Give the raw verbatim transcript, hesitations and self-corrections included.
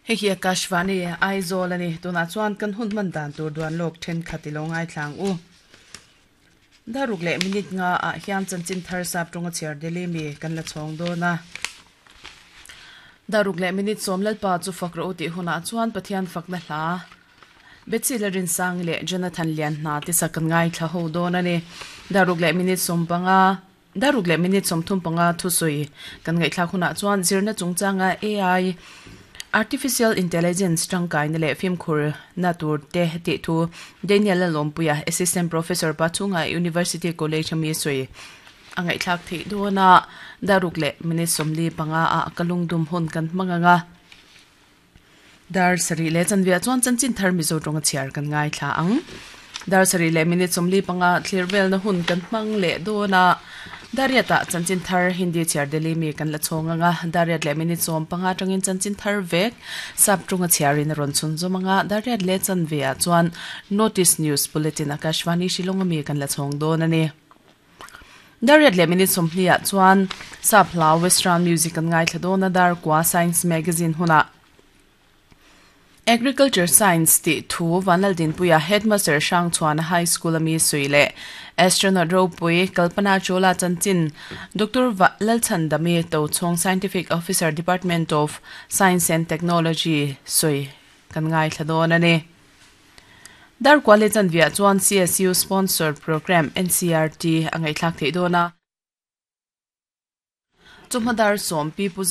Hei hi Akashvani Aizawl ani tunah chuan kan hun hman dan tur duan lawk thenkhat ilo ngai thlang u. Daruk leh minute nga ah hian chanchin thar sap tawnga chhiar Delhi mi kan la chhawng dawn a. Daruk leh minute sawm lalpa chu fak rawh u tih hunah chuan Pathian fakna hla Betsy Larinsang leh Jonathan Lian hna te sak kan ngai thla ho dawn ani. Daruk leh minute sawm panga Daruk leh minute sawm thum panga thusawi kan ngaihthlak hunah chuan zirna chungchanga A I Artificial Intelligence tangkaina leh fimkhur na tur te tih thu Daniel Lalawmpuia, Assistant Professor Pachhunga University College ami sawi a ngaihthlak theih dawn a. Daruk leh minute sawmli panga ah kalungdum hun kan hmang anga. Dar sarih leh chanveah chuan chanchin thar Mizo tawnga chhiar kan ngaithla ang. Dar sarih leh minute sawmli panga thlir velna hun kan hmang leh dawn a. Dariatah chanchin thar Hindi chhiar Delhi mi kan la chhawng anga. Dariat leh minute sawm panga atangin chanchin thar vek sap tawnga chhiarin a rawn chhun zawm anga. Dariat leh chanveah chuan Notice News Bulletin Akashvani Shillong ami kan la chhawng dawn a ni. Dariat leh minute sawmhnih ah chuan sap hla Western music kan ngaithla dawn a. Dar kua Science Magazine hunah Agriculture Science tih thu Vanlaldinpuia, Headmaster Hrangchhuana High School ami sawi leh Astronaut ropui Kalpana Chawla chanchin Doctor Lalchhandami Tochhawng, Scientific Officer, Department of Science and Technology sawi kan ngaithla dawn a ni. Dar kua leh chanveah chuan C S U sponsored program N C R T a ngaihthlak theih dawn a. Chawhma dar sawm pi pu